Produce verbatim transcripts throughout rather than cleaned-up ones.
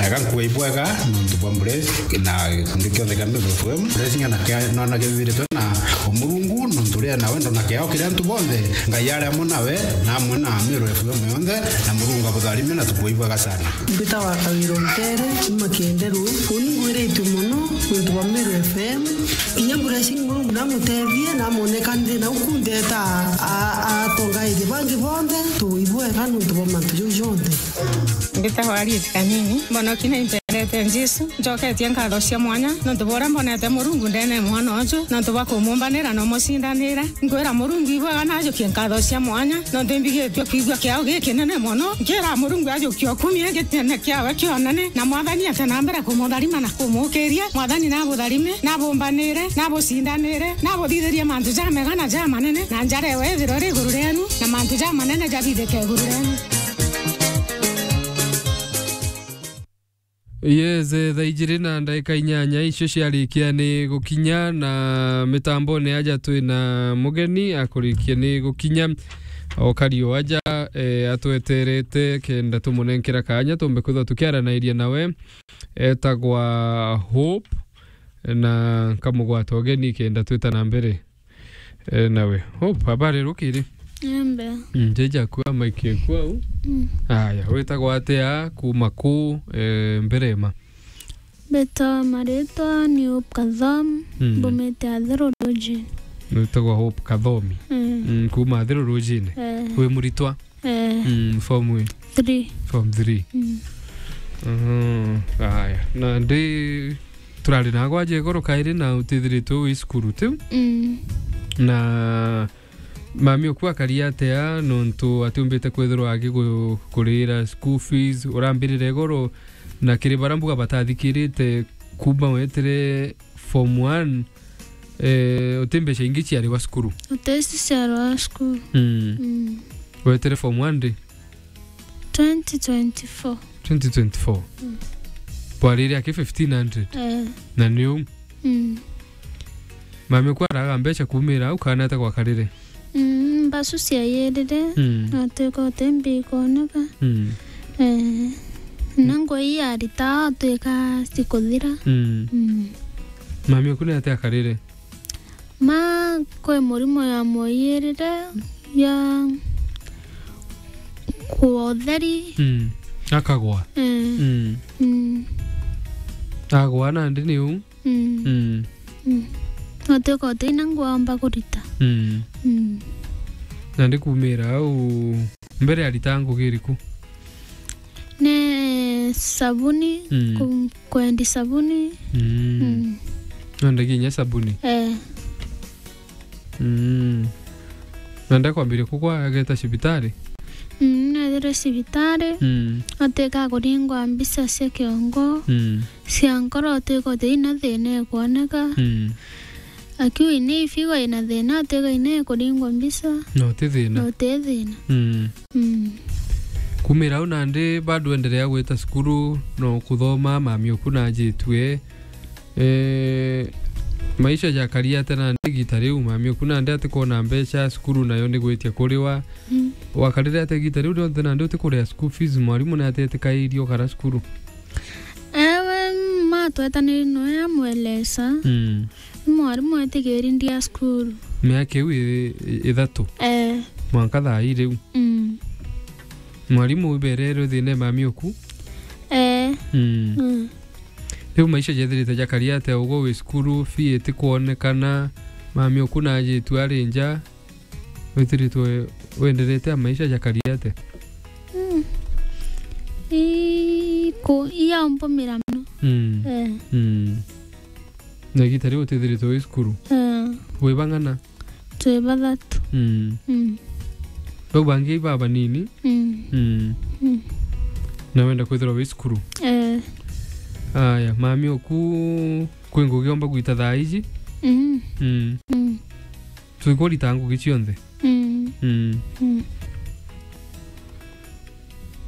Ega nkuga ibwega nontu bwa Mburesi na gikundi kionthe kia Meru F M. Mburesi ng'ana kia nona kithiritwe na Omurungu nontu ria na wendo na kiao kiria antu bonthe. Ngai ari amwe nawe na amwe na Meru F M yonthe, na Murungu abutharime na tukuga ibwega sana. Mbitawa Kawira Ntere, kuma Kienderu. Uni ngwiritue mono nontu bwa Meru F M. Inya Mburesi Murungu namutethie, namwoneka nthi na uku ntheta a-, a-, atongaithia bangi bonthe, tuibwega nontu bwa mantu jau jonthe. Mbitagwa Harriet Kanini. Mbonoki na impendete Jesu. Njoketie nkatho cia mwanya nontu bwa uria mbonete Murungu ndene ya mwana uju, nontu bwa kumumbanira na umucindanira. Nkwira Murungu ibwega na ajukie nkatho cia mwanya, nontu imbigitue kwigua kiao gikinene mono. Nkira Murungu ajukie ukumie gitene kiawe kionene, na Mwathani ate na mbere kumutharima na kumukiria. Mwathani nabutharime, nabumbanire, nabucindanire, nabuthithirie mantu jamega na jamanene, na njara ewe ithirwe iri iguru rienu, na mantu jamanene jathithike iguru rienu. Yes, eh, thaa ijiri na ndagika inyanya icio ciarikia ni gukinya, na mitambone aja twi na mugeni akurikia ni gukinya. Okari o aja, eh, atweterete kenda tumunenkera kanya tumbe kwithwa tukiaranairia nawe. Etagwa Hope, na nkamugwata ugeni kenda twita na mbere. Eh, nawe. Hope, habari rukiri? Embe. Mm, jeja kwa mike kwa u. Mm. Aya, witagwa atia, kuma ku, eh, Mberema? Mbitwa maritwa ni Hope Kathomi, mm, mbumite Athero Rujini. Witagwa Hope Kathomi? Mm. Mm, kuma Athero Rujini? Eh. Wi muritwa? Eh. Mm, form wi? Three. Form three. Mm. Mhm, aya. Na ndi turari na gwaje igoro kairi na utithiritwe wi cukuru tiu? Mm. Na mami oku akari atia nontu atiumbite kwithirwa agikurira school fees? Urambirire igoro na kiri bara mbuga batathikirite kuma wetire form one, eh, uti mbeca ingi ciari wa cukuru? Uti ici ciari wa cukuru. Mm. Mm. Wetire form one ndi? Twenty twenty-four. Twenty twenty-four. Mm. Bwarire aki fifteen hundred? Eh. Na ni u? Mm. Mami oku araga mbeca kumira au kana ata gwakarire? Mm, mbasu ciayirire, mm, na twika uti mbi ikoneka. Mm. Eh, na ngui ya rita twika cikuthira. Mm. Mm. Mami oku ni ati akarire? Ma kwi murimo ya mwoyirire ya kua utheri. Mm. Akagwa? Eh. Mm. Mm. Agwa nandi ni u? Mm. Mm. Mm. Utwika uti na ngwamba kurita. Mm. Mm. Nandi kumira au mbere arita ngugi iriku? Ni sabuni, mm, ku-, kwendi sabuni. Mm. Mm. Nondagia inya sabuni? Eh. Mm. Na ndakwambiria kugwa ageta cibitari? Mm, nethire cibitari. Mm. Atwika kuringwa mbica cia kiongo. Mm. Cia nkoro atwika uti ina thina ikwoneka. Mm. Akiuga ina ifigo ina thina, atwika ina ikuringwa mbica. No ti thina. No ti thina. Mm. Mm. Kumira au nandi bado endelea gwita cukuru, no kuthoma, mami oku najitue. Eh, maisha jakari atia nandi igita riu, mami oku nandi atikwona mbeca, cukuru nayo ni gwitia kuriwa. Mm. Wakarire atia igita riu rionthe nandi utikuria school fees, mwarimu ni atetikairie ukara cukuru? Ewe, ma twetaniri noe amwelesa. Mm. Mwarimu etigiri ndia cukuru. Miaka iu i-, i-, ithatu? Eh. Mwanka thaa ii riu? Mm. Mwarimu ibererwe thina mami oku? Eh. Mm. Mm. Riu maisha jethirite jakari atia ugo wi cukuru, fee itikwonekana, mami oku najitue ari nja, withiritwe wenderete a maisha jakari atia? Mm. Iko, iya umpumira mono. Mm. Eh. Mm. Na igita riu utithiritwe wi cukuru? Eh. Wi bang'ana? Twi bathatu. Mm. Mm. Bau bangi iba banini? Mm. Mm. Mm. Na wenda kwithirwa wi cukuru? Eh. Aya, mami oku kwi ngugi omba gwita thaa iji? Mm. Mm. Mm. Twikurita ngugi cionthe? Mm. Mm. Mm.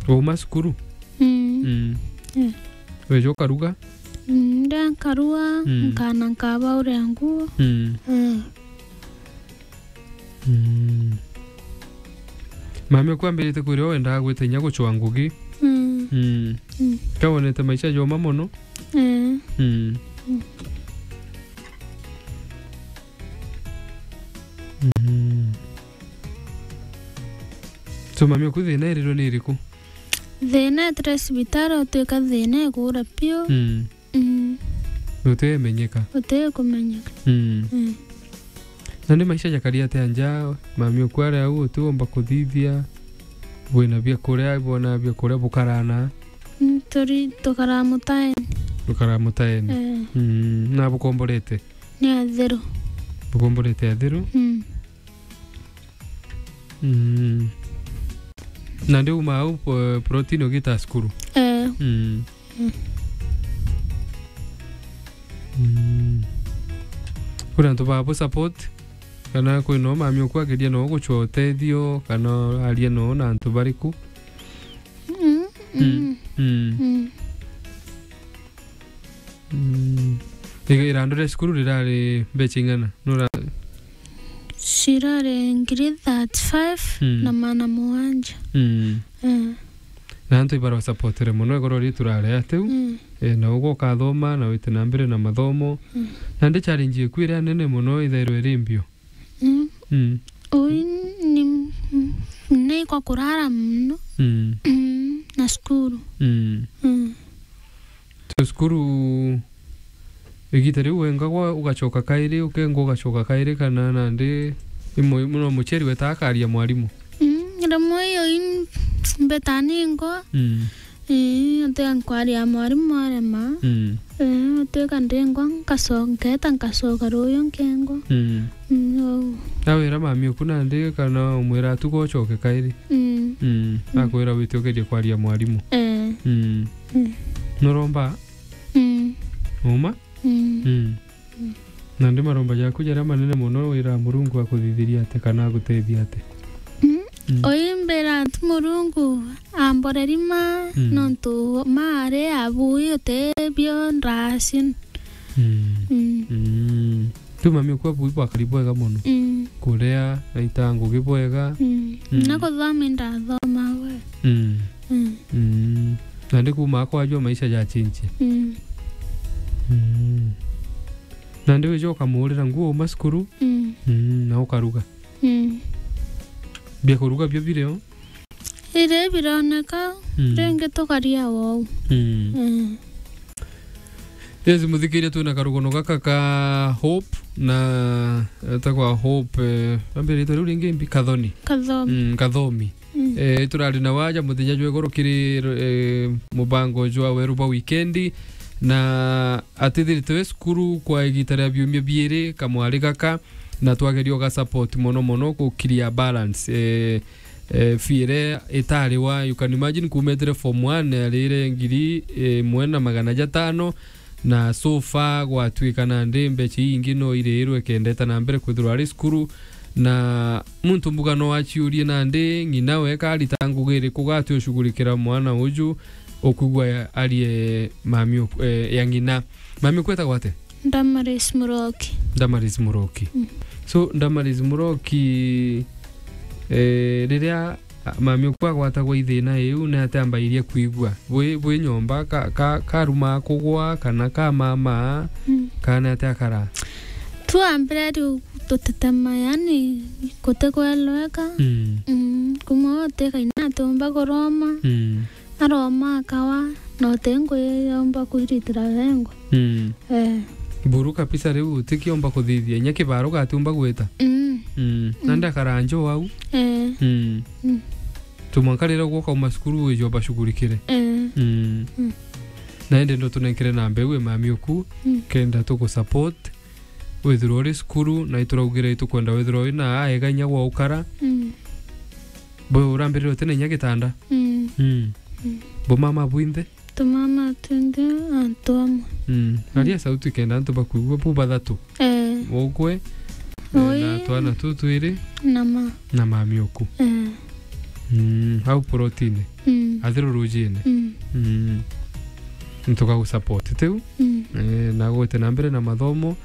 Wauma cukuru? Mm. Mm. Eh. Weja ukaruga? Mm, ndia nkarua, mm, nkana nkaba uria nguo. Mm. Mm. Mm. Mami oku ambirite kwira wendaga gwita inya gucwa ngugi. Mm. Mm. Mm. Kawonete maisha joma mono. Eh. Mm. Mm. Mm. So, mami oku thina irirwe ni iriku? Thina etire cibitari, utwika thina igura piu. Mm. Mm. Utimenyeka. Utikumenyeka. Mm. Mm. Na ni maisha jakari atia nja, mami oku ari au utiomba kuthithia, bwina biakuria, bwona biakuria bukarana? Mm, turi, tukaraa mutaeni. Tukaraa mutaeni. Eh. Mm, na bukomborete? Ni athiru. Bukomborete athiru? Mm. Mm. Na ndi uma au, eh, protein ugita cukuru? Eh. Mm. Mm. Mm. Kuri antu ba bu support, kana kwi no mami oku ageria no gucwa utethio, kana aria no na antu bariku? Mm, mm, mm. Mm. Mm. Iga irandu ria cukuru rirari mbeca ing'ana? Nura- Cirari ngiri thirty-five, mm, na magana mugwanja. Mm. Mm. Na antu ibarwa supportire mono igoro ritu rari atiu. Mm. Eh, na ugo ukathoma na wite na mbere na mathomo. Mm. Na ndi challenge iku iria nene mono ithairwe iri mbio. Mm. Mm. Ui ni, ni kwa kurara muno. Mm. Mm, na cukuru. Mm. Mm. Tu cukuru igita riu wengagwa ugacoka kairi, ukengwa ugacoka kairi, kana nandi imwe muno muciari weta akaria mwarimu? Mm, rimwe iyo in-, mbeta ningwa. Mm. Ii, ati nkwaria mwarimu arema. Mm. Ii, atuika ndingwa, nkaco-, nketa nkacoka ruyu nkengwa. Mm. Mm, ou. Nawira mami oku nandi kana umwira atuga ucoke kairi? Mm. Mm. Mm. Akwira wite ugerie kwaria mwarimu? Eh. Mm. Mm. Nuromba? Mm. Uma? Mm. Mm. Mm. Nandi maromba jaku jaria manene mono wira Murungu akuthithiria ati kana agutethia ati? Mm. Mm. Uyu mbira tu Murungu amboreri ma, mm, nontu maari abui utebio ndracin. Mm. Mm. Mm. Tu mami oku abui bwakari bwega mono. Mm. Kuria, naita ngugi bwega. Mm. Mm. Na kuthoma indathoma we. Mm. Mm. Mm. Nandi kuma kwajua maisha jachinchie. Mm. Mm. Nandi wija ukamuurira nguo uma cukuru. Mm. Mm, na ukaruga. Mm. Bia kuruga bio birio? Iri bironeka, mm, ringi tukaria wou. Mm. Mm. Yes, muthikiria, twina karugono gaka ka Hope na, eh, etagwa Hope, eh, ambirite riu ringi mbi Kathoni. Kathomi. Mm, Kathomi. Mm. Eh, turari na waja muthenya jwa igoro kiri, eh, mubango jwa weru bwa wikendi, na atithirite we cukuru kwa igita ria biumia biiri kamwari gaka, na twageria uga support mono mono gukiria balance, eh, eh, fee iria itariwa. You can imagine, kuumetire form one, arire ngiri imwe na magana jatano, na so far gwatuika nandi mbeca iingi no iriirwe kenda eta na mbere kwithirwa ari cukuru, na muntu mbuga no aciurie nandi ng'ina we karita ngugi iriku gati ucugurikira mwana uju ukwigua arie mami uk-, eh, ya ng'ina. Mami ukwetagwa ate? Damaris Muroki. Damaris Muroki. Mm. So, Damaris Muroki, eh, riria A, mami oku agwatagwa i thina iu, ni atia ambairie kwigua? Bwi, bwi nyomba ka, ka, karumaa kugwa, kana kamamaa, mm, kana ni atia akaraa? Tu ambire riu tutetema, yani, gutikweleweka. Mm. Mm, kumwe uti kaina atiumba kuroma. Mm. Aroma akawa, na uti ngui yomba kwiritira wengwa. Mm. Eh. Buru kabisa riu utikiomba kuthithia, inya kibaro gatiumba gwita. Mm. Mm. Mm. Na ndakara njo au. Eh. Mm. Mm. Tumwanka riria uguo ukauma cukuru wijomba shughurikire. Eh. Mm. Mm. Na indi ndo tunenkere namba iu e mami oku, mm, kenda tugusupport, withirwa uri cukuru, na ituraugire itukwenda withirwa wina aega inya gwa ukara. Mm. Bo urambirire uti na inya gitanda. Mm. Mm. Mm. Bo mama bwinthe? Tumama twinthe antu amwe. Mm. Mm. Aria sauti kenda antu bakwigua bu bathatu. Eh. Ukwe, eh, oi, na twana tu twiri. Na ma. Na mami oku. Eh. Mm. Au protini. Mm. Athiru rujine. Mm. Mm. Ntukagusupport tiu. Mm. Eh, na gwite na mbere na mathomo,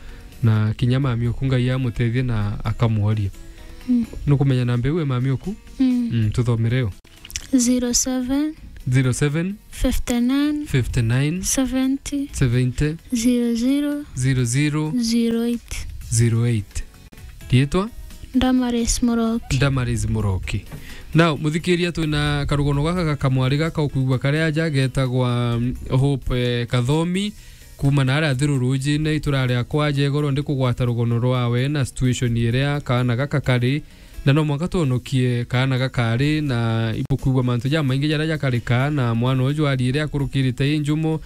na kinya mami oku Ngai amutethie na akamworia. Mm. Nukumenya namba iu e mami oku? Mm. Mm, tuthomere yo. Zero seven zero seven, fifty nine, fifty nine, seventy, seventy, zero zero, zero zero, zero eight, zero eight. Riitwa? Damaris Muroki. Damaris Muroki. Now, muthikiria, twina karugono gaka ga kamwari gaka ukwigua kari aja getagwa, mm, Hope, eh, Kathomi, kuma na aria Thiru Rujine, itura ria kwa Jegoro, ndi kugwata rugono rwawe na situation iria kaana gaka kari, na no mwanka twonokie kaana gakari, na ibukwigua mantu jamaingi jaria jakarika, na mwana uju ariire akurukirite i njumo,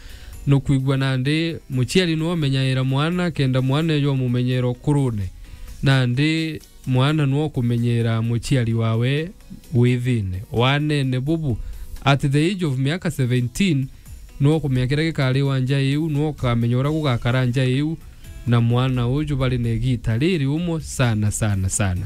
nukwigua nandi muciari nwe umenyaira mwana, kenda mwana uju umumenyera ukurune, nandi mwana nwe ukumenyera muciari wawe wi thine, wanene bubu, at the age of miaka seventeen, nwe ukumenya kiria gikari wa nja iu, nwe ukamenya uria gugakara nja iu, na mwana uju bari na igita riri umwe sana, sana, sana.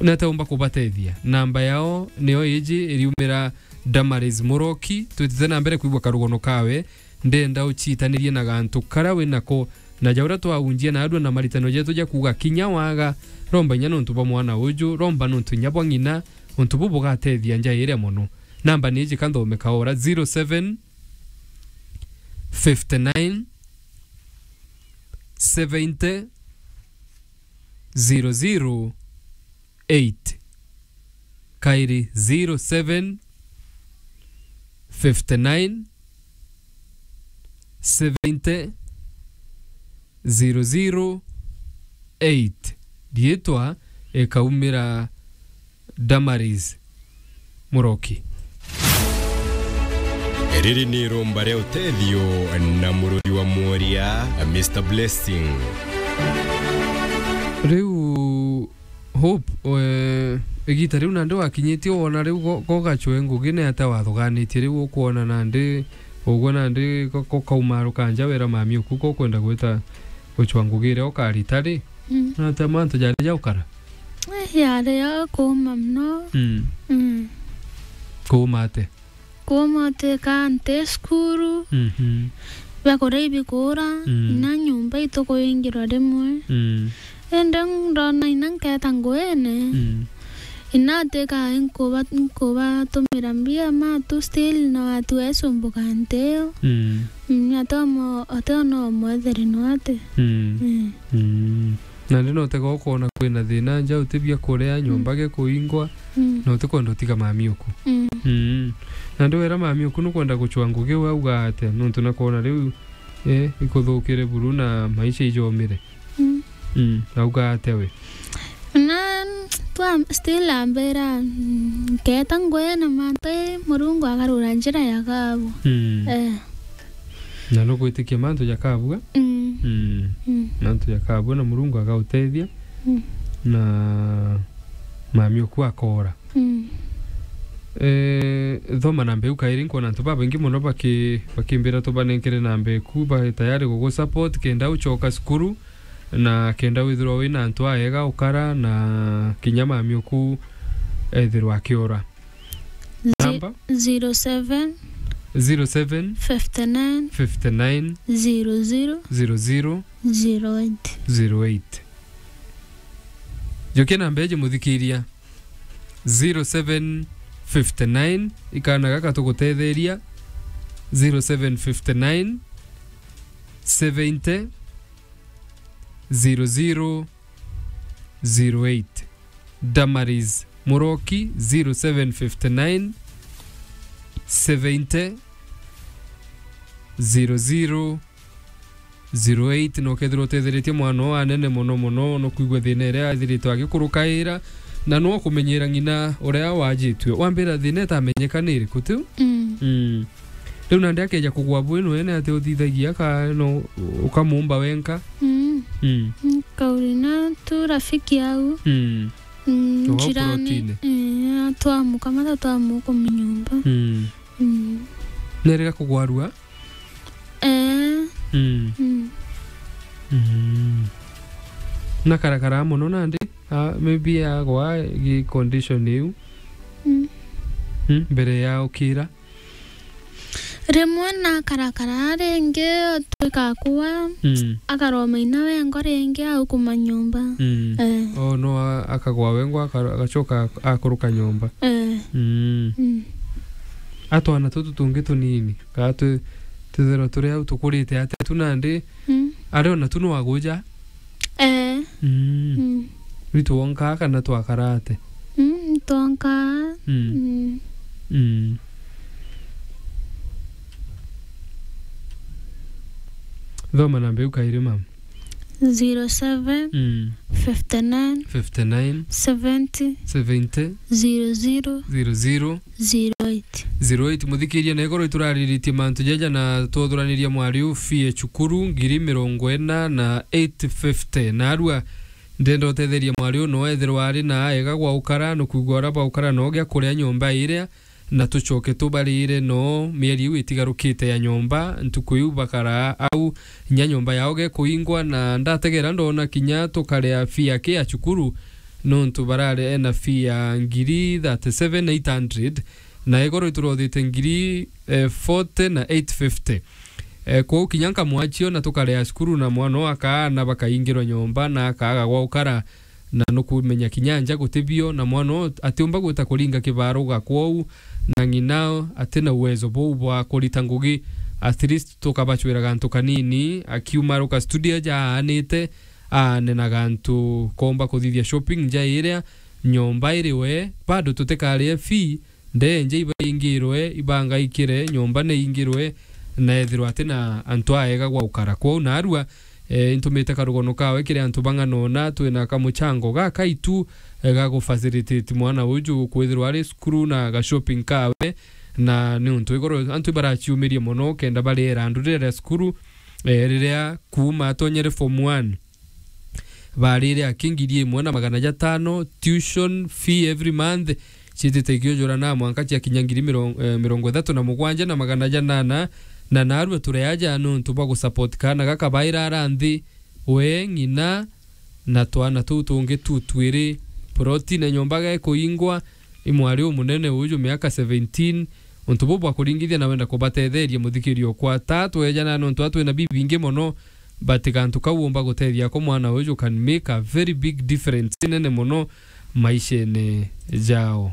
Nete umba kubatethia? Namba yao nio iji, iriumira Damaris Muroki. Twitite na mbere kwigua karugono kawe, ndenda uciitanirie na gantu karia wi nako, na ja uria twaunjia na andua na maritano jetu ja kuuga kinya waga, romba inya nontu bwa mwana uju, romba nontu inya bwa ng'ina, untu bu bugatethia nja iria mono. Namba ni iji ka nthome kaora, zero seven, fifty nine, seventy, zero zero, eight. Kairi zero seven, fifty nine, seventy, zero zero, eight. Riitwa ikaumira Damaris Muroki. Riri ni iromba ria utethio na muruthi wa mworia, Mister Blessing. Riu Hope, we, igita riu nandi wakinyitie, wona riu go-, gogacwe ngugi ni atia wathuganitie riu ukwona nandi, ugwe nandi go-, gokauma rukanja wera mami uku gokwenda gwita gucwa ngugi iria ukarita ri? Mm. Na atia mantu jari jaukara? Eh, yari ya kuuma mono. Mm. Mm. Kuuma atia? Kuuma utwika nti cukuru, mhm, biakuria ibikura, mm, na nyomba itukuyingirwa rimwe. Mm. Indi ndona ina nketa nguine, mm, ina atwika inkuba-, inkubatumira mbia ma tu still na watu esumbuka nti iyo. Mm. Mm, ati omo-, ati ona omwetheri nwate. Mm. Mm. Mm. Nandi no tega ukoona kwina thina nja, uti bia kuria, nyomba, mm, gikuingwa, mm, na utikwenda utiga mami uku. Mm. Mm. Nandi wera mami uku nukwenda gucwa ngugi, we auga atia? Nontu nakwona riu, eh, ikuthukire buru na maisha ijomire. Mm. Mm. Auga atia we? Na twa still ambira, mm, nketa ngwena mantu, eh, Murungu akarura njira ya kabu. Mm. Eh. Na nugwitikia mantu jakabua? Mm. Mm. Mm. Mantu jakabua na Murungu agautethia. Mm. Na mami uku akoora. Mm. Eh, thoma namba iu kairi, nkwona antu babaingi mono baki-, bakimbira tubanenkere namba iku, ba tayari gugusupport kenda ucoka cukuru, na kenda withirwa wina antu aega ukara, na kinya mami uku ethirwa akiora. Zi-, namba? Zero seven, zero seven, fifty nine, fifty nine, zero zero, zero zero, zero eight, zero eight. Njokia namba iji muthikiria, zero seven fifty nine, ikana gaka tugutetheria, zero seven fifty nine, seventy, zero zero, zero eight. Damaris Muroki, zero seven fifty nine, seventy, zero zero, zero eight. No kethirwa utetheretie mwana uu anene mono mono, no kwigua thina iria athirite agikurukaira, na no kumenyera ng'ina uria wajitue. Wambira thina itamenyeka ni iriku, tiu? Mm. Mm. Riu nandi akeja kugwa bwinwene, ati uthithagia ka no ukamumba wenka? Mm. Mm. Mm, kauri na tu rafiki au. Mm. Mm, jirani. Protini. Eh, twamuka mata twamuka mu nyomba. Mm. Mm. Nerega kugwarua? Eh. Mm. Mm. Mm. Na karakara mono nandi, ah, maybe agwa gi condition iu. Mm. Mm, mbere ya ukira. Rimwe na karakara ringi twikakua, mm, akaroma ina wengwa ringi au kuma nyomba. Mm. Eh. Oh, no, a-, akagwa wengwa, aka-, agacoka akuruka nyomba. Eh. Mm. Mm. A twana tutu tungi tunini, kaa tu-, twithirwa turi au tukurite atia tu nandi, Mm. ari ona tu no aguja? Eh. Mm. Mm. Ritu wonka kana twakarate? Mm, twonka. Mm. Mm. Mm. Thoma namba iu kairi, mama. Zero seven, Mm. fifty nine, Fifty nine, seventy, seventy, zero zero, zero zero, zero eight. Zero eight. Muthikiria, na igoro iturariritie mantu jaja na twuthuraniria mwari u fee e cukuru ngiri mirongo ina na eight fifty. Narua ndenda utetheria mwari u no ethirwa ari na ega gwa ukara, nukwigua uria baukara no gia kuria nyomba iria, na tucoke tubarire no mieri iu itigarukite ya nyomba, ntuku iu bakaraa au, nya nyomba yao gekuingwa, na ndategera ndona kinya tukarea fee aki ya cukuru, nontu barare ena fee ya ngiri thirty-seven eight hundred, na igoro iturothite ngiri, eh, forty na eight fifty. Eh, kwou kinya nkamwachio na tukarea cukuru na mwana oo akaana bakaingirwa nyomba na akaaga gwa ukara, na nukumenya kinya nja guti bio, na mwana oo atiumba gwita kuringa kibaruga kwou, na ng'ina atina uwezo buu bwa kurita ngugi. At least tukabachwira gantu kanini, akiuma aruka studio aja aanite, aane na gantu koomba kuthithia shopping nja iria, nyomba iri we, bado tutikarie fee, ndenje ibaingirwe, ibangaikire, nyomba neingirwe, na ethirwa atina antu aega gwa ukara. Kwou narua, eh, intumite karugono kawe kiri antu bang'anona, twina kamuchango gakaitu, eh, ga gufacilitate mwana uju kwithirwa ari cukuru na ga shopping kawe, na niuntu igoro antu ibaraciumirie mono kenda bariera ndu riria ria cukuru, eh, riria kuuma atonyere form one. Barire aki ngiri imwe na magana jatano, tuition fee every month, ciitite ikiujura na mwanka ciakinya ngiri mirongo, eh, mirongo ithatu na mugwanja na magana janana, na narua tureaja nontu bwa gusupport kaana gaka baira ara nthi, we, ng'ina, na twana tuu tungi tu twiri. Ploti na nyomba gekuingwa, i mwari umunene uju miaka seventeen, untu buu bwa kuringithia na wenda kubatetheria muthikirio kwa ta twejana nontu atwina bibingi mono, but gantu kau umba gutethia ko mwana uju can make a very big difference inene mono maishene jao.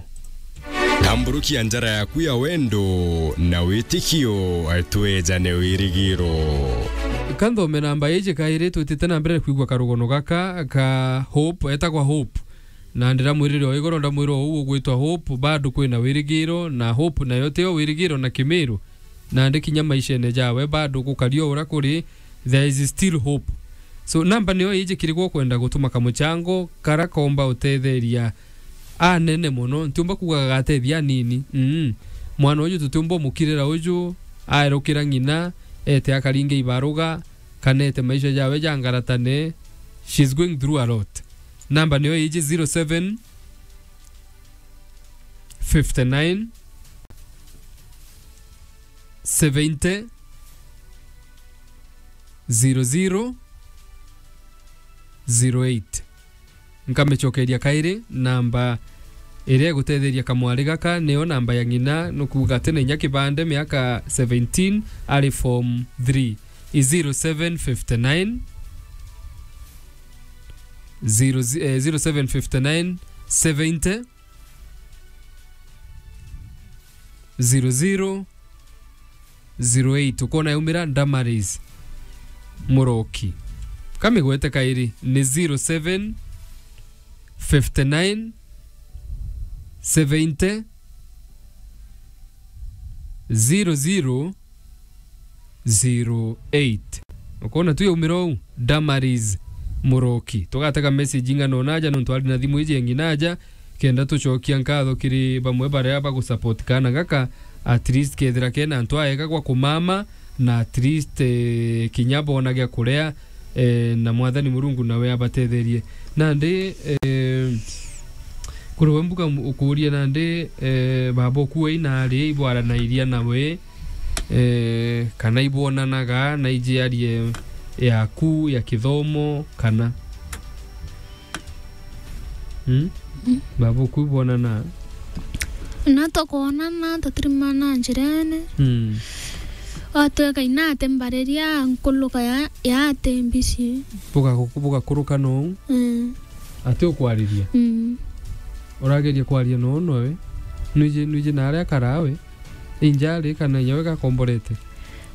Tamburukia njara yaku ya wendo na witikio, twejane wirigiro. Kanthome namba iji kairi, twitite na mbere kwigua karugono gaka ka Hope, etagwa Hope. Na ndiramwirire o igoro, ndamwira uu ugwitwa Hope, bado kwina wirigiro, na Hope nayo tio wirigiro na Kimiru. Nandi kinya maishene jawe bado gukari o uria kuri, there is still hope. So, namba nio iji kiri gwo kwenda gutuma kamuchango kara komba utetheria anene mono, ntiumba kuuga gagatethia anini. Mm. Mwana uju tutiumba umukirira uju, aerukira ng'ina, ete akaringe ibaruga, kana ete maisha jawe jangaratane. She's going through a lot. Namba nio iji zero seven, fifty nine, seventy, zero zero, zero eight. Nkamicokeria kairi, namba iria igutetheria kamwari gaka niyo namba ya ng'ina, nukuuga ati na inya kibande, miaka seventeen, ari form three. I zero seven fifty nine, zero, eh, zero seven fifty nine, seventy, zero zero, zero eight. Ukona yaumira Damaris Muroki. Kamigwete kairi ni zero seven, fifty nine, seventy, zero zero, zero eight. Ukona tu yaumira uu, Damaris Muroki. Tugatega message ing'ana ona aja nontu ari na thimu iji ya ng'ina aja, kenda tucokia nkatho kiri bamwe baria bagusupport kaana gaka, at least kethira kena antu aega gwa kumama, na at least, eh, kinya bona gia kuria, eh, na Mwathani Murungu nawe abatetherie. Nandi, eh, kuri we mbuga mu-, ukuria nandi, eh, baba ukuo ina ari ibwaranairia nawe, eh, kana ibwonanaga na ijiarie yaku ya kithomo kana? Hmm? Hmm. Baba ukuo ibwonana? Na tukwonana, tutirimana njirene. Hmm. Atweka inate mbariria nkuluka ya, ya ate mbisi. Buga-, bugakuruka nou? Hmm. Ati ukwariria? Hmm. Urageria kwaria nou noe? Nwiji, nwiji na aria akarawe? Injari kana inya we gakomborete?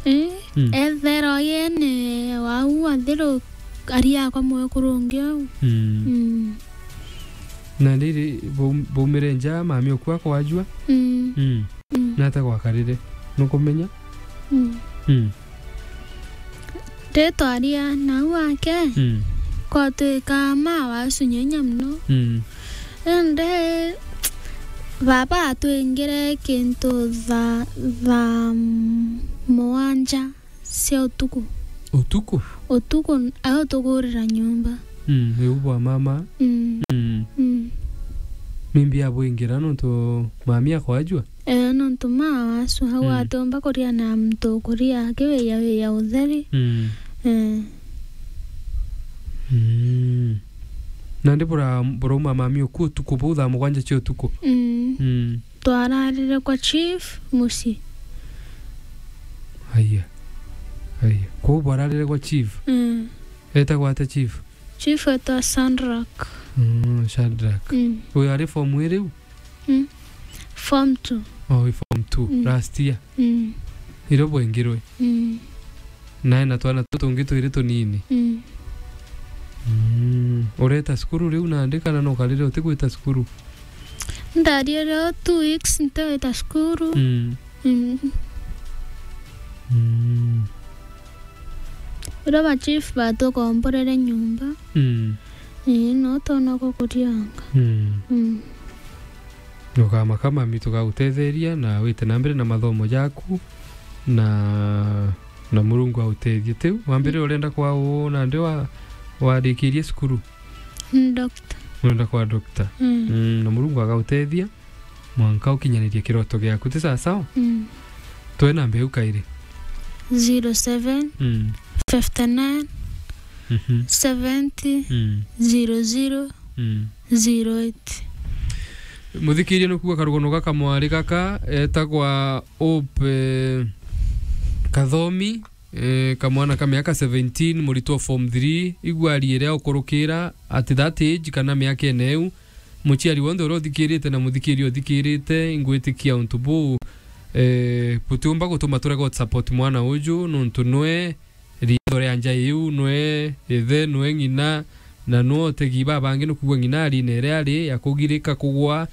Eh, Mm. Ethero yene wau athiru ari akwa mwekuru ungi au. Mm. Mm. Na riri, bau-, baumire nja, mami oku akwajua? Mm. Mm. Mm. Nata gwakarire? Nukumenya? Mm. Mm. Ritwa ria nau ake, Mm. kwatwika ma wacunya inya mono. Mm. Indi baba atwingire kintu tha-, thaa mugwanja cia utuku. Utuku? Utuku, au tukurira nyomba. Mm, riu bwa mama. Mm. Mm. Mm. Mimbi abwingira nontu mami akwajua? Eh, nontu ma wacu, au Mm. atiumba kuria na muntu ukuria akiwiya wiya utheri. Mm. Eh. Mm. Nandi bura-, burauma mami oku utuku buu thaa mugwanja cia utuku? Mm. Mm. Twararire kwa chief mucii. Aya. Aya. Kuu bwararire kwa chief? Mm. Etagwa ata chief? Chief etwa Sandrak. Mm, Shadrack. Mm. Uyu ari form iriu? Mm. Form two. Oh, wi form two. Mm. Last year. Mm. Irio bwengirwe. Mm. Nae na twana tutu tungi twiri tunini. Mm. Mm. Ureta cukuru riu nandi kana no karire utigwita cukuru? Ndarire o two weeks ntiwita cukuru. Mm. Mm. Mm. Uria ba chief batukomborere nyomba. Mm. Ii, no tona gukurianga. Mm. Mm. Ukamaka mami tugagutetheria na wite na mbere na mathomo jaku na, na Murungu autethie. Tiu, wambire Mm. urenda kwa uu nandi wa-, warikirie cukuru? Ni doctor. Urenda kwa doctor? Mm. Mm, na Murungu agautethia mwanka ukinyanirie kiroto giaku, ti sawasawa? Mm. Twe namba iu kairi. Zero seven, Mm. fifty nine, Mhm. seventy, Mm. zero zero, Mm. zero eight. Muthikirie nukuga karugono gaka mwari gaka etagwa Hope, eh, Kathomi, eh, kamwana ka miaka seventeen, muritwa form three, igua ari iria ukurukira at that age kana miaka ene iu. Muciari wonthe uria uthikirite na muthikiria uthikirite, ingwitikia untu buu, eh, butiumba gutuma turega usupport mwana uju, nontu nwe riitho ria nja iu, nwe ithe, nwe ng'ina, na nwe utegi babangi, nukuigua ng'ina ari na iria ari ya kugirika kugwa,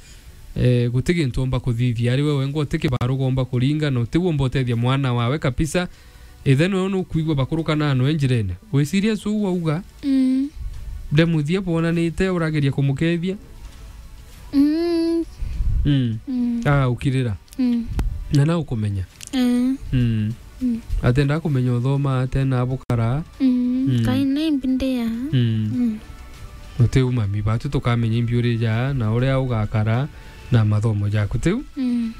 eh, guti gintu omba kuthithia. Ari we wengwa uti kibaruga omba kuringa, na utigua omba utethia mwana wawe kabisa. Ithe nwe nukuigua bakurukanaa nwe njirene. Wi serious uu wauga? Mm. Ndemuthia bwonanite urageria kumukethia? Mm. Mm. Mm. Ah, ukirira. Mm. Na na ukumenya. Eh. Mm. Mm. Atenda kumenya uthoma, atena bukara. Mm. Mm. Kai na imbi ndi ya. Mm. Mm. Uti umami, batu tukamenya imbi uri ja na uria ugakara na mathomo jaku. Tiu? Mm.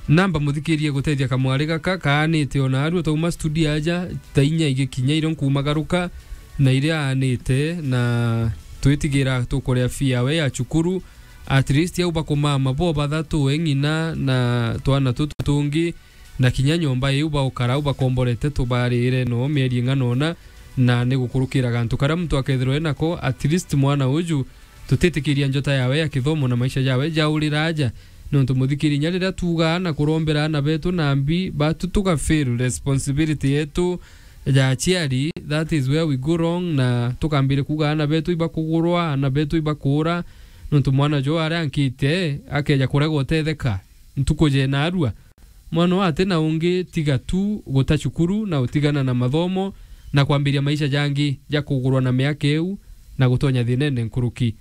Namba muthikirie gutethia kamwari gaka kaanite ona arua twauma studio aja, thaa inya igikinya irio nkumagaruka na iria aanite, na twitigira tukuria fee yawe ya cukuru. At least au bakumama bo bathatu, we ng'ina na twana tutu tungi, na kinya nyomba iu baukara au bakomborete tubarire no mieri ing'ana ona, na ni gukurukira gantu karia muntu akethirwa enako, at least mwana uju tutitikiria njota yawe ya kithomo na maisha jawe jaurira aja. Nontu muthikiri, inya riria tuuga na kurombera aana betu nambi, batu tuga fail responsibility yetu ya aciari, that is where we go wrong, na tukambire kuuga aana betu ibakugurwa, aana betu ibakuura, nontu mwana jo aria ankite akeja kurega utetheka ntuku jena arua. Mwana uu ati na ungi tiga tu guta cukuru na utigana na mathomo na kwambiria maisha jangi ja kugurwa na miaka iu na gutonya thinene nkuruki.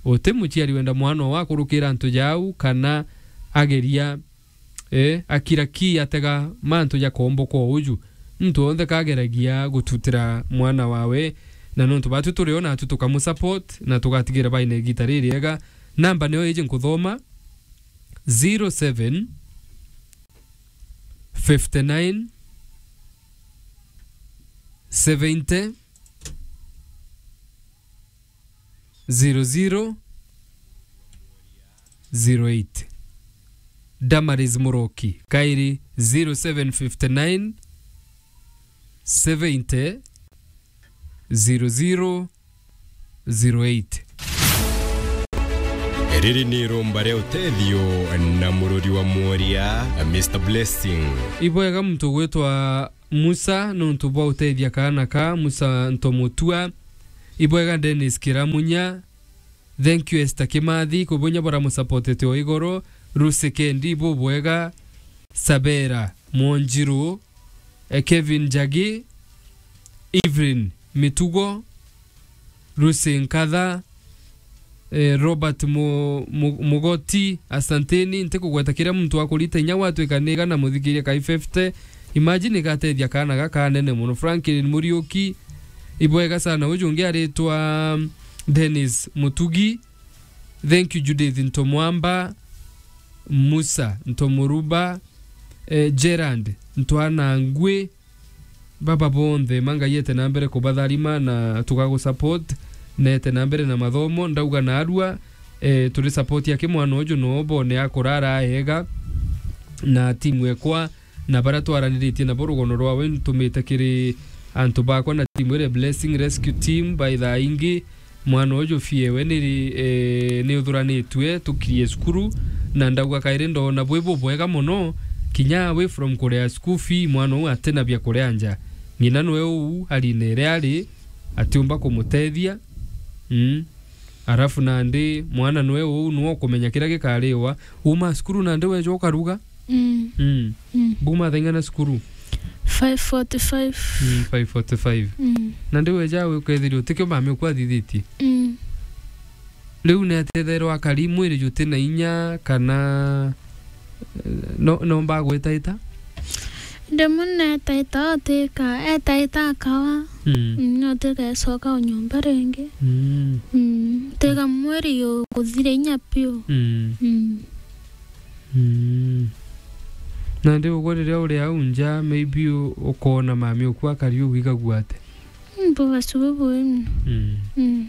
Uti muciari wenda mwana oo akurukira antu jau kana ageria, eh, akira ki atega mantu ja kombokwa uju. Muntu wonthe kageragia gututira mwana wawe, na nontu batu turi o natu tukamusupport na tugatigira baina igita ririega. Namba nio iji nkuthoma, zero seven, fifty nine, seventy, zero zero, zero eight. Damaris Muroki, kairi zero seven fifty nine, seventy, zero zero, zero eight. Riri ni irumba ria utethio na mururi wa mworia, Mister Blessing. Ibwega muntu gwitwa Musa nontu bwa utethia kaana ka Musa Ntomutua. Ibwega Dennis Kiramunya. Thank you Esther Kimathi, kubunya bora musapotete o igoro. Lucy Kendi, bubwega. Sabera Mwonjiru, eh, Kevin Njagi, Evelyn Mitugo, Lucy Nkatha, eh, Robert Mu-, Mu-, Mugoti, asanteni. Ntikugweta kiria muntu akurita inya gwatwika niga na muthikiria kai fifty. Imagine igatethia kaana gaka kanene mono. Franklin Muriuki, ibwega sana. Uju ungi aritwa Dennis Mutugi. Thank you, Judith Ntomwamba, Musa Ntomuruba, eh, Gerard Ntwanangwi, baba bonthe, ma Ngai ete na mbere kubatharima na tugagusupport, na ete na mbere na mathomo, ndauga naarua, eh, turi support ya kimwana uju no bone akurara aega na timu ekwa, na baria twaraniritie nabo rugono rwawe ntumite kiri antu bakwa na timu iria Blessing Rescue Team, by thaa ingi, mwana uju fie we ni, eh, ni uthuranitue tukirie cukuru, na ndauga kairi ndona bwi bubwega mono, kinya away from kuria school fee, mwana uu atina bia kuria nja. Ng'ina nwe uu arine iria ari, atiumba kumutethia. Mm. Arafu nandi mwana nwe uu nwe ukumenya kiria gikariwa. Uma cukuru nandi weja ukaruga? Mm. Mm. Mm. Buma thaa ing'ana cukuru? Five forty-five. Mm, five forty-five. Mm. Nandi weja we ukethirwa utikio mami ukwathithitie? Mm. Riu ni atetherwa akari mwiri juti na inya kana, eh, no, nomba gwitaita? Rimwe netaita otika, etaita akawa. Mm. Mm, otika ecoka o nyomba ringi. Mm. Mm, tika mwiri uguthira inya piu. Mm. Mm. Mm. Nandi ugwe riria uri au nja, maybe u-, ukona mami uku akari ugwigagua ate? Mm, bubasu bubui mono. Mm. Mm.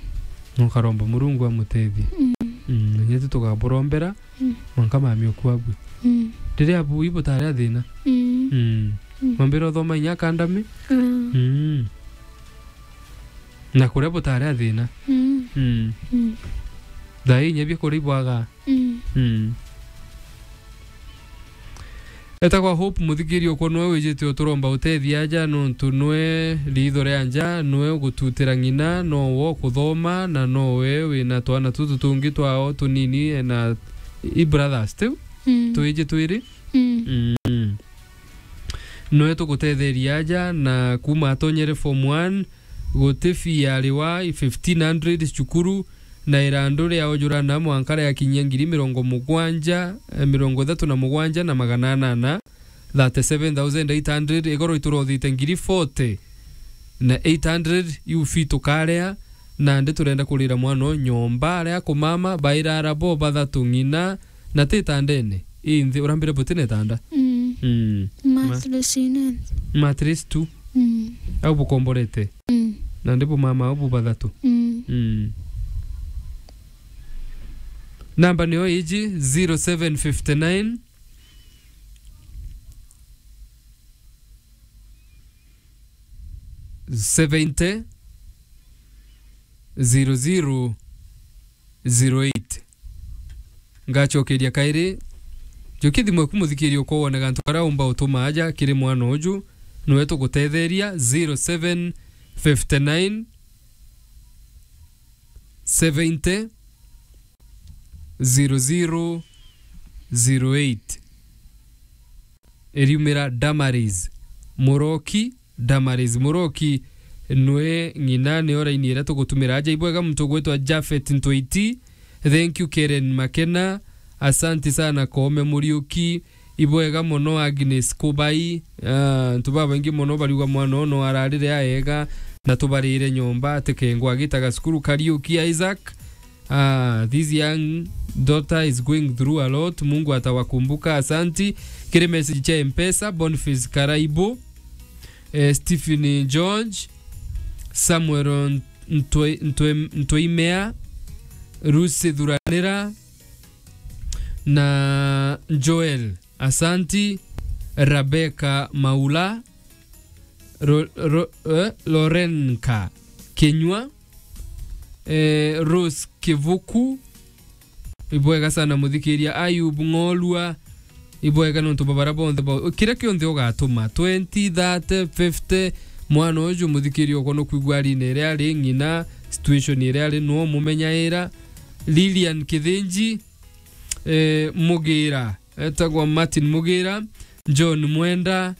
Nukaromba Murungu amutethie. Mm. Mm, na nyetu tukaburombera, mm, mwanka mami uku abue. Mm. Riria abui butari a thina. Mm. Mm. Mm. Mwambire uthoma inya academy? Mm. Mm. Na kuria butari a thina. Mm. Mm. Mm. Thaa ii inya biakuria ibwaga. Mm. Mm. Etagwa Hope Muthikiri, ukwo nwe wijite uturomba utethia aja, nontu nwe riitho ria nja, nwe ugututira ng'ina, nowe ukuthoma, na nowe wina twana tutu tungi twao tunini, na i brothers tiu, mm, twiji twiri. Mm. Mm. Nwe tugutetheria aja, na kuma atonyere form one, guti fee yariwa i fifteen hundred cukuru, na irandu ria ujurana mwanka riakinyia ngiri mirongo mugwanja, eh, mirongo ithatu na mugwanja na magana anana, thirty-seven thousand eight hundred, igoro iturothite ngiri forty na eight hundred, iu fee tukaria, nandi turenda kurira mwana o nyomba, aria akumama, bairara bo bathatu ng'ina, na ti itandene, inthi, urambire buti na itanda? Mm. Mm. Ma- mattress ina nthi. Mattress tu? Mm. Au bukomborete? Mm. Nandi bumama au bu bathatu? Mm. Mm. Namba niyo iji, zero seven fifty nine, seventy, zero zero, zero eight. Ngacokeria kairi, njukia thimu eku muthikiri ukwo wone gantu karia umba utuma aja kiri mwana uju, niwe tugutetheria, zero seven fifty nine, seventy, zero zero, zero eight. Iriumira Damaris Muroki, Damaris Muroki, nwe ng'ina, niyo raini iria tugutumira aja. Ibwega muntu ugwitwa Japhet Ntwiti. Thank you, Karen Makena. Asanti sana, Koome Muriuki. Ibwega mono, Agnes Kubai. Ah, antu babaingi mono bariuga mwana ono ararire aega, na tubarire nyomba, atikengwa agitaga cukuru. Kariuki Isaac. Ah, this young daughter is going through a lot. Mungu atawakumbuka. Asanti. Kiri message cha M-Pesa, Boniface Karaibo, eh, Stephen George, Samuel Ntwe-, Ntwe-, Ntweimea, Lucy Thuranira, na Joel. Asanti. Rebecca Maula, Ro-, Ro-, eh, Lorenka Kinyua, eh, Rose Kivuku, Ibwega sana muthikiria Ayub Ng'orua. Ibwega nontu bwa bara bonthe bo. Kiria kionthe ugatuma, twenty, thirty, fifty, mwana uju muthikiria uko nukwigua arine iria ari ng'ina, situation iria ari no mumenyaira. Lilian Kithinji, eh, Mugira, etagwa Martin Mugira, John Mwenda,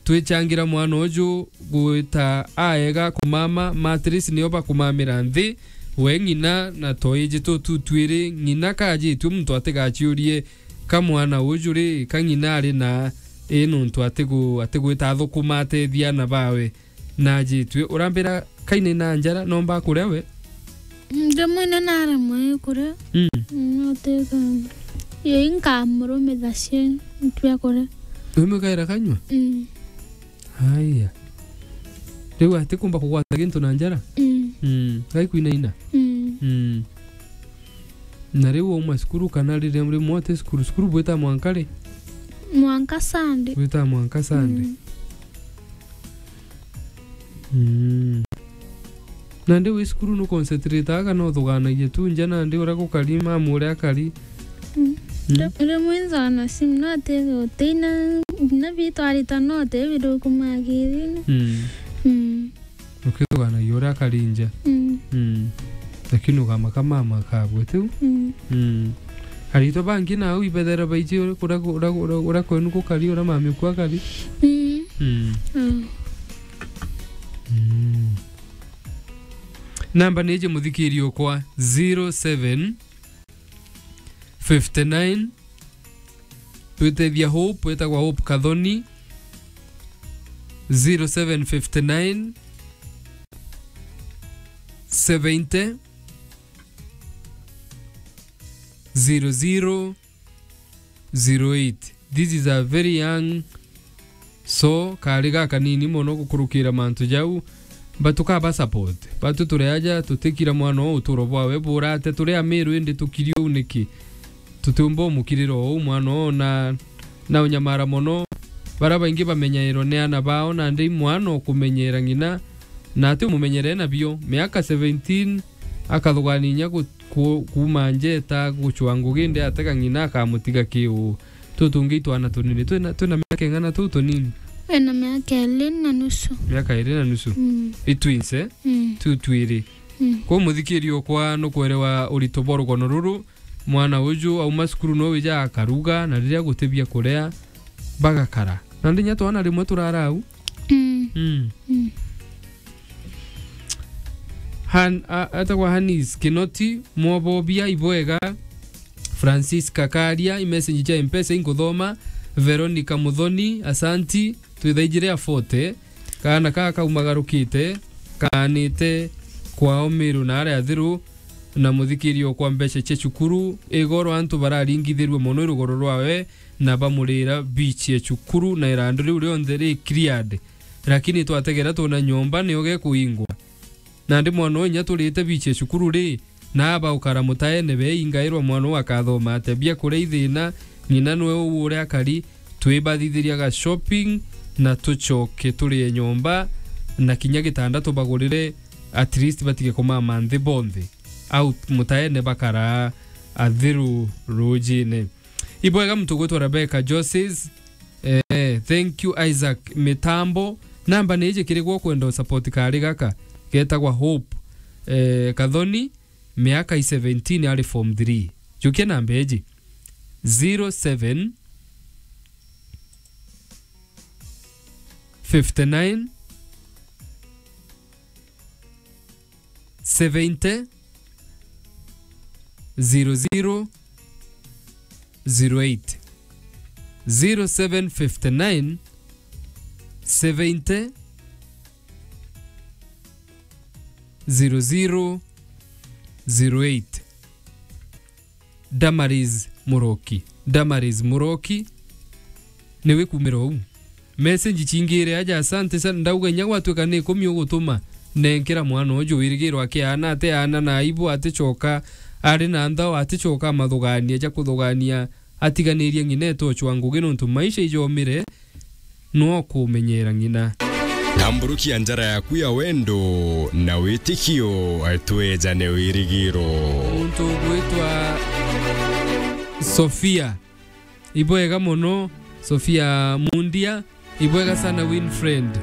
twichangira mwana uju gwita aega kumama, mattress nio bakumamira nthi, we ng'ina na toiji tutu twiri, ng'ina kajitue muntu atigaciurie ka mwana uju ri, ka ng'ina ari na i nuntu atigu-, atigwita athukuma atethia ana bawe. Najitue, urambira kaina na njara, nomba kuria we? Mm, rimwe ni naremwe kuria. Mm. Mm, no tega. Yo inkamurumitha cie, ntwia kuria. Wimwikaira kanyua? Mm. Haya. Riu atikumba kugwata gintu na njara? Mm. Mm. Gai kwinaina? Mm. Mm. Na riu wauma cukuru kana riria rimwe uti cukuru, cukuru bwita mwanka ri? Mwanka Sunday. Bwita mwanka Sunday. Mm. Mm. Nandi wi cukuru nu concentrate aga no thuganagia tu nja nandi uria gukari mamu uria akari. Mm. Mm. Ri-, rimwe nzana simu no ati utina na bitwarita no te biruku magirine. Mm. Mm. Ukithuganagia uria akari nja. Mm. Mm. Lakini ugamaka mama akagwe tiu. Mm. Mm. Aritwa bangi nau ibethera baiji uria, uria, uria, uria, uria kwenu gukari, uria mami uku akari. Mm. Mm. Mm. Mm. Namba ni iji muthikiri ukwa, zero seven fifty nine, twitethia Hope, witagwa Hope Kathoni, zero seven fifty nine, seventy, zero zero, zero eight. This is a very young, so kari gakanini mono gukurukira mantu jau, but tukaba support. Batu turi aja, tutikira mwana oo uturo bwawe burate, turi Amiru indi tukiri uu niki? Tutiumba umukirira uu mwana oo na, na unyamara mono. Bara baingi bamenyairwa ni ana bao, nandi mwana ukumenyera ng'ina, na ati umumenyere nabio. Miaka seventeen, akathugania inya gu-, ku-, kuuma njeta gucwa ngugi, indi atega ng'ina akamutiga ki uu? Tutungi itwana tunini. Twina, twina miaka ing'ana tuu tunini? Ena miaka iri na nusu. Miaka iri na nusu? Mm. I twins, eh? Mm. Tu twiri. Mm. Kwou muthikiri ukwa nukwerewa urito bwa rugono ruru, mwana uju auma cukuru no wija akaruga, na riria guti bia kuria, bagakara. Nandi inya twana rimwe turara au. Mm. Mm. Mm. Han-, a-, etagwa Hanis Kinoti, Mwobobia, ibwega. Francis Kakaria, i message cia Mpesa inkuthoma. Veronica Muthoni, asanti. Twithaijire a forty. Kaana kaa kaumagarukite, kaanite kwao Miru na aria athiru, na muthikiri okwa mbeca cia cukuru. Igoro antu bararingithirue mono i rugoro rwawe, na bamurira beach ya cukuru, na irandu riu rionthe ri cleared. Lakini twategera twona nyomba nio gekuingwa. Nandi mwana uyu inya turite beach ya cukuru ri, na aba ukara mutaene beingairwa mwana uyu akathoma atia? Bia kuria ithina, ng'ina nwe uu uria akari, twibathithiria ga shopping, na tucoke turie nyomba, na kinya gitanda tubagurire, at least batige kumama nthi bonthe. Au mutaene bakara athiru rujine. Ibwega muntu gwitwa Rebecca Joses. Eh, thank you Isaac Mitambo. Namba ni iji kiri gwo kwenda usupport kari gaka. Getagwa Hope, eh, Kathoni, miaka i seventeen ari form three. Jukia namba iji. Zero seven fifty nine seventy zero zero zero eight. Zero seven fifty nine seventy zero zero zero eight. Damaris Muroki. Damaris Muroki, ni wikumira uu? Message chingire aja, asante sana. Ndauga inya gwatuika ni ikumi ugutuma, nenkera mwana uju wirigirwa akiaana, atiaana na aibu, atichoka ari na nthao, atichoka amathugania ja kuthugania, atiganirie ng'ina etochwa ngugi, nontu maisha ijomire, no kumenyera ng'ina. Tamburukia njara yaku ya wendo na witikio, twejane wirigiro. Muntu ugwitwa Sofia. Ibwega mono, Sofia Mundia. Ibwega sana, Winfriend.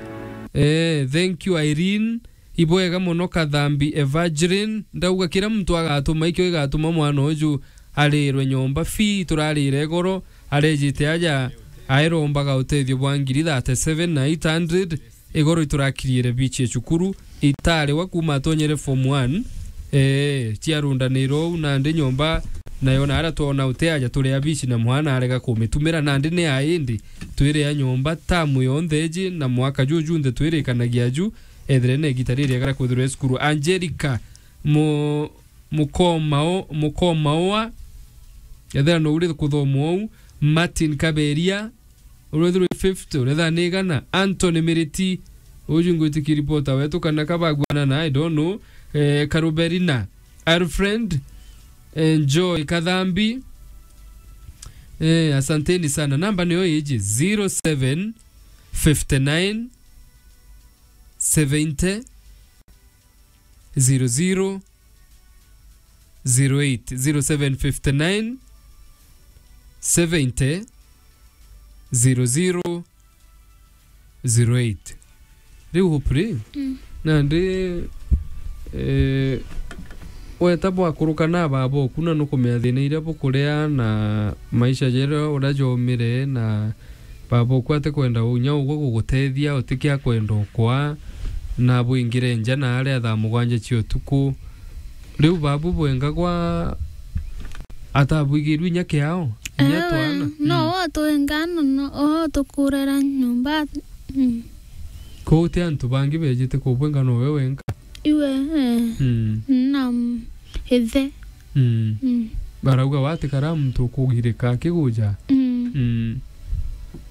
Eh, thank you, Irene. Ibwega mono, Kathambi Evangeline. Ndauga kira muntu agatuma, ikio igatuma mwana uju arirwe nyomba. Fi turarire igoro, arejite aja, airombaga utethio bwa ngiri thirty-seven na eight hundred. Igoro iturakiriire bichi ya cukuru, itariwa kuma atonyere form one, eh, ciarundanirwo uu nandi nyomba, nayo naria twona uti aja turia bichi na mwana arega kumitumira, nandi ni aindi twiria nyomba tamu yonthe iji na mwaka juu junthe twirikanagia ju, ethire na igita ririega ria kwithirwa e cukuru. Angelica Mu-, Mukomao-, Mukomaoa, ethira no uri kuthoma uu, Martin Kaberia, urethirwe fifty, uretha ni igana. Anthony Miriti, uju ngwitikia reporter wetu kana kabagwana na, I don't know. Eh, Karuberina, Alfred, eh, Joy Kathambi. Eh, asanteni sana. Namba niyo iji, zero seven fifty nine seventy zero zero zero eight, zero seven fifty nine seventy zero zero zero eight. Riu Hope ri, Mm. nandi, eh, weta bwakuruka na baba oku na nukumenya thina iria bukuria na maisha jeria uria jomire na baba oku atikwenda unya ugwe gugutethia, utikia kwenda ukwa, na bwingire nja na aria thaa mugwanja cia utuku. Riu babu bwengagwa atabwigirwe inya kiao, inya Ewe, twana. no Mm. o atwenga no, no, o tukurera nyomba. Mm. Kou ti antu bangi bejite kubwenga, nowe wenka. Iwe, eh, Mm. na, mm, ithe. Mm. Mm. Barauga watikara muntu ukugirika akiguja. Mm. Mm.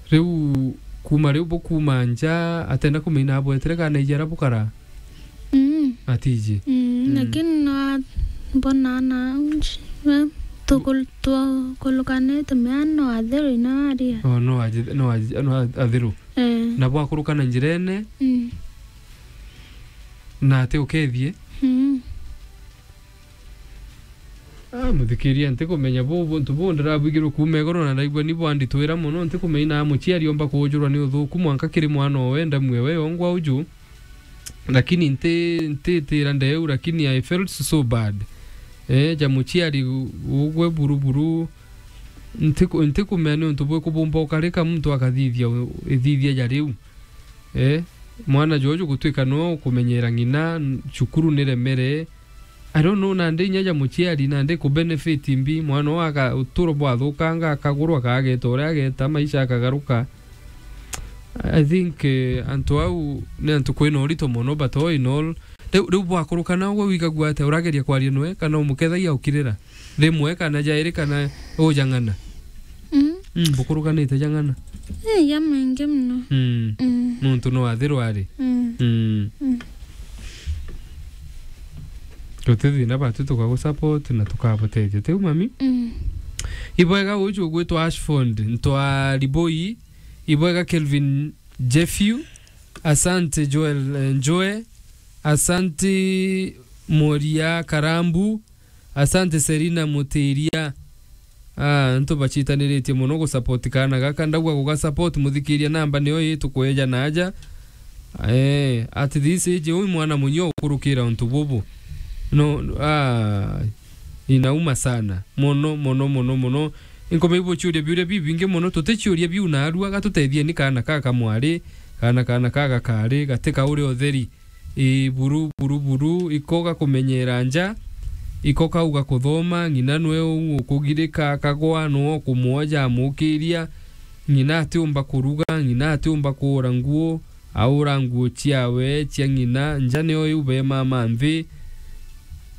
Riu kuma riu bukuma nja atenda kumenya abwetire kana iji ara bukara? Mm. Atiji. Mm, Mm. lakini no a-, mbona na nji-, we, tukul-, tukulukanite mea no athiru ina aria. Oh, no aji-, no aji-, no a-, athiru. Eh. Na bwakurukana njirene, Mm. na ati ukethie? Mm. Ah, muthikiria, ntikumenya bu-, buntu buu ndirabwigirwe kuuma igoro na ndaigua ni bwanditwira mono. Ntikumenya na muciari omba kuujurwa ni uthuku mwanka kiri mwana owe ndamue we yongwa uju. Lakini nti-, ntitira ndeu, lakini I felt so bad. Eh, ja muciari u-, ugwe buru buru. Ntiku-, ntikumenya ni untu bwiku bumba ukarika muntu akathithia u-, ithithia ja riu. Eh, mwana jojo gutwika no kumenyera ng'ina, n-, cukuru ni remere. I don't know, nandi inya ja muciari, nandi ku benefit mbi, mwana oo aga-, uturo bwathukanga, akagurwa, akageta uria ageta, maisha akagaruka. I think, eh, antu au ni antu kwina urito mono, but all in all, riu, riu bwakurukana ugwe wigagua atia? Urageria kwaria noe, kana umukethagia ukirira? Rimwe kana jairi kana ujang'ana? Mm. Mm, bukurukanite jang'ana? Eh, ya maingi mono. Mm. Mm. Nontu no athirwa ari. Mm. Mm. Mm. Guti thina batu tukagusupport na tukabutethia. Tiu mami? Mm. Ibwega uju ugwitwa Ashford, ntwa Liboi. Ibwega Kelvin Jeffew. Asante Joel, eh, Njoe. Asante Moria Karambu. Asante Serina Mutiria. Ah, antu bacitaniritie mono gusupport kaana gaka. Ndauga gugasupport, muthikiria, namba niyo ii tukweja na aja. Eh, at this age, uyu mwana munyo ukurukira untu bubu. No, ah, inauma sana. Mono, mono, mono, mono. Inkomei buciuria biuria bibingi mono. Tuticiuria biu narua, gatutethie ni kaana ka kamwari, kaana, kaana ka gakari, gati ka uria utheri. Ii, buru, buru, buru, iko gakumenyera nja, iko kauga kuthoma, ng'ina nwe uu ukugirika akagwa, nwe ukumwoja amukiria, ng'ina atiumba kuruga, ng'ina atiumba kuura nguo, aura nguo ciawe, cia ng'ina, nja nio iu be mama nthi.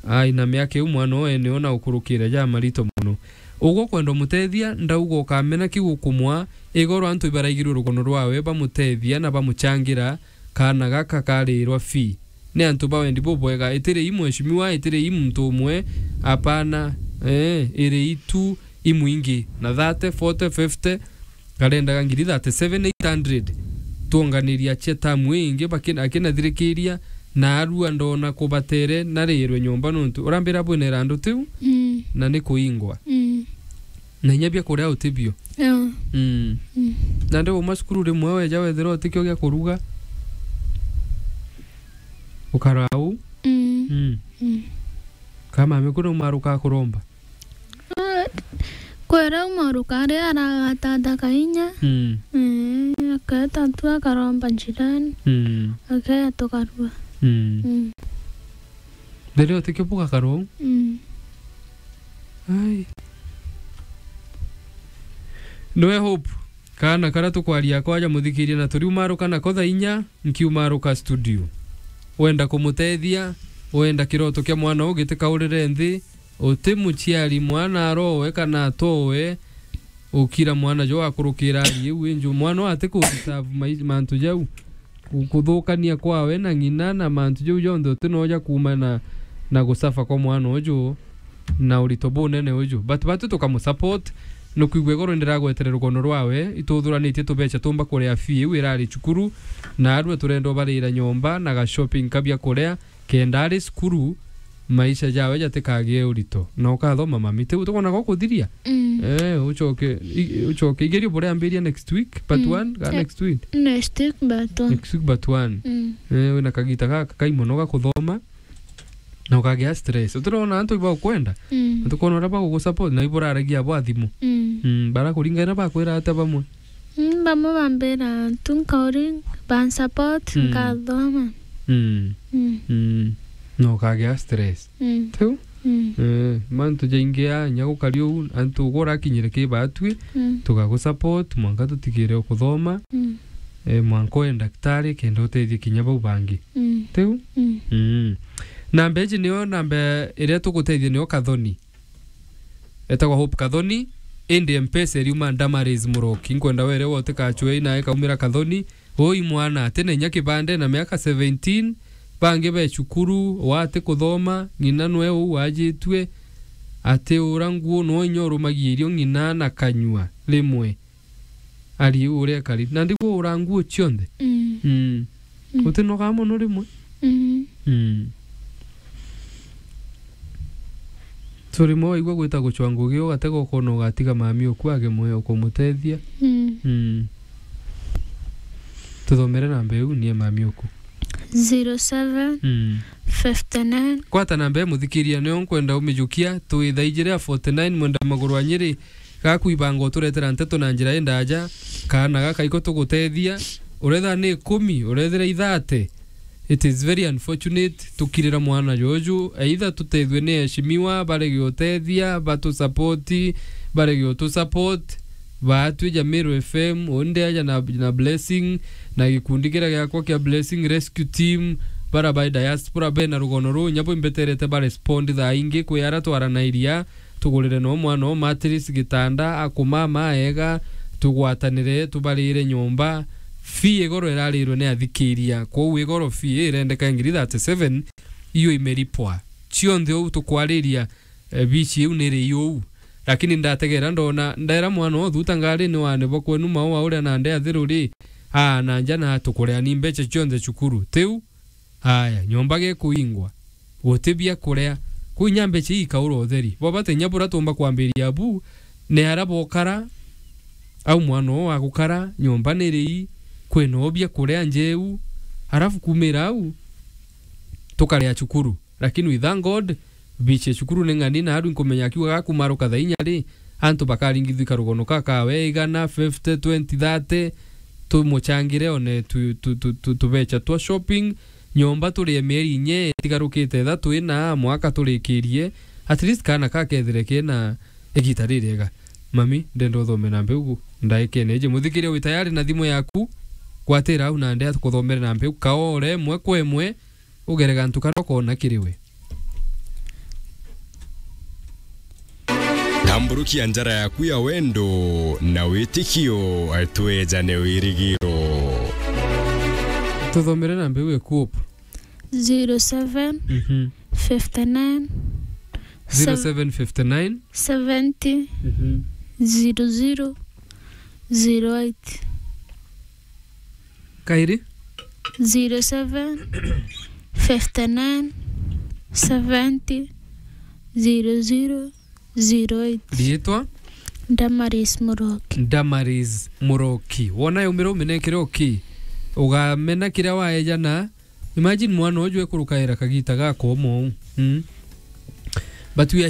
Ai, na miaka iu mwana oo ene ona ukurukire ja marito mono. Ugwe ukwenda umutethia, ndauga ukamena kiu ukumwa, igoro antu ibaraigirwe rugono rwawe bamutethia na bamuchangira, kaana gaka karirwa fee. Ni antu ba wendi bubwega, itiri i mheshimiwa, itiri i muntu umwe, apana, eh, iri itu imwingi, na thirty, forty, fifty, karendaga ngiri thirty-seven eight hundred. Twonganiria cia tamu ingi, bakina-, akinathirikiria, na arua ndona kubatere, narirwe nyomba nontu urambira bwina irandu tiu, Mm. na ni kuingwa. Mm. Na inya bia kuria utibio. Yeah. Mm. Mm. Na ndi uma cukuru rimwe weja wethira utikio gia kuruga. Ukara uu. Mm. Mm. Mm. Ka mami kuna umaruka kuromba. Ah, kwera umaruka ari aragatatha kainya. Mm. Eh, aketa tu akaromba jirani. Mm. Akeya tukarua. Mm. Mm. Mbere utikio bugakarwa uu? Mm. Ai. Nwe Hope, kaana karia tukwaria kwaja muthikiria na turiumaruka nako thaa inya, nkiumaruka studio. Wenda kumutethia, wenda kiroto kia mwana uu gitikaurire nthi, uti muciari mwana arowe kana atowe, ukira mwana jo akurukira ari iu inju. Mwana uu ati ku deserve mai-, mantu jau. Ku-, kuthukania kwawe na ng'ina na mantu jau jonthe uti noja kuuma na, na gusafa kwa mwana uju na urito bunene uju. But batu tukamusupport, nukwigua igoro ndiragwetere rugono rwawe, ituthuranitie tubeca tumba kuria fee iu irari cukuru, na arua turenda ubarira nyomba na ga shopping ka bia kuria, kenda ari cukuru, maisha jawe jatikagie urito. Na ukathoma mami, tiu tukwona gwa kuthiria? Mm. Eh, ucoke, i-, ucoke. Igerio buria ambiria next week, part Mm. one, ga Eh, next week? Next week, part one. Next week, part one. Mm. Eh, wina kagita gaka kai mono ga kuthoma, na ukagia stress. Utirona antu iba ukwenda? Mm. Antu kwona uria bagugusupport, na iburaragia abo athimu. Mm. Mm, barakuringa ina bakwira atia bamwe? Mm, bamwe bambira tu nkauri, bansupport, Mm. nkathoma. Mm. Mm. Mm. No ukagia stress. Mm. Tiu? Mm. Eh, mantu jaingi a, nya gukari uu, antu ugu urakinyire ki batwi, Mm. tugagusupport, mwanka tutigire ukuthoma, Mm. eh, mwanka uye ndagitari, kenda utethie kinya bau bangi. Mm. Tiu? Mm. Mm. Namba iji nio namba iria tugutethia nio Kathoni. Etagwa Hope Kathoni, indi Mpesa iriuma Damaris Muroki. Nkwenda were we utikacwe ina ikaumira Kathoni. Ui mwana, ati na inya kibande na miaka seventeen, bangi be cukuru, wati kuthoma, ng'ina nwe uu wajitue, ati ura nguo no inya urumagia irio ng'ina na kanyua rimwe. Ari uu uria ekari. Na ndigwo ura nguo cionthe. Mm. Mm. Mm. Utinogaa mono rimwe? Mm. Mm. So rimwe waigua gwita gucwa ngugi, ugatega ukona ugatiga mami uku age mwe ukumutethia. Mm. Mm. Tuthomere namba iu, nie mami uku. Zero seven, Mm. fifty nine. Kwata namba imuthikiria, nio nkwenda umijukia, twi thaa ijiri ya forty nine, mwenda maguru a Nyeri, gaku ibanga uturetera nteto na njira indaja, kaana gaka iko tugutethia, uretha ni ikumi, urethira ithate, it is very unfortunate, tukirira mwana juju, either tutethue ni eshimiwa, barege utethia, batu support, barege utu support, baatwi ja Meru F M, undi aja na, na Blessing, na gikundi kiria giakwa kia Blessing Rescue Team, bara ba diaspora bena rugono ruu, nyabo imbeterete ba respond thaa ingi kwi ara twaranairia, tugurire no mwana o mattress, gitanda, akumama ega, tugwatanire, tubarire nyomba. Fee igoro irarirwe ni athikiria, kwou igoro fee irendeka ngiri thirty seven, iyo imeripwa. Cionthe uu tukwariria, eh, bici iu niri iu. Lakini ndategera ndona, ndera mwana o thuta ngari ni wane bo kwenu maua uria na ndea thiru ri, aa, na nja na tukurea ni mbeca cionthe cukuru. Tiu? Aya, nyomba gikuingwa. Guti bia kuria. Kuu inya mbeca ii ikaura utheri. Bo bati inya bura tumba kwambiria bu, ni ara bokara, au mwana oo agukara, nyomba ni rii, kwina o bia kuria njeu, arafu kumira au, tukaria cukuru. Lakini we thank God, bici ya cukuru ni ng'ani, na aru nkumenya akiuga gakumaruka thaa inya ri, antu bakaringithua karugono ka kawe igana, fifty, twenty, thirty, tumuchangire one tu, tu, tu, tu, tubecha twa shopping, nyomba turie mieri inya itigarukite ithatu ina mwaka turikirie, at least kaana kakethire kena igita ririega. Mami, ndenda uthome na mbeugu, ndaikene iji. Muthikiria wi tayari na thimu yaku, gwatira au na ndea tukuthomere na mbeugu, kaore imwe kwa imwe, ugere gantu karia ukoona kiri we. Tamburukia njara yaku ya wendo na witikio, twejane wirigiro. Tuthomere namba iu ekuop. Zero seven, mhm, fifty nine, zero seven fifty nine, seventy, mhm, zero zero, zero eight. Kairi? Zero seven, fifty nine, seventy, zero zero, zero eight. Riitwa? Damaris Muroki. Damaris Muroki. Wona yaumira uminekire oki. Ugamena kiria waejana. Imagine mwana uju ekurukaira kagita gakomo. Mm. But we are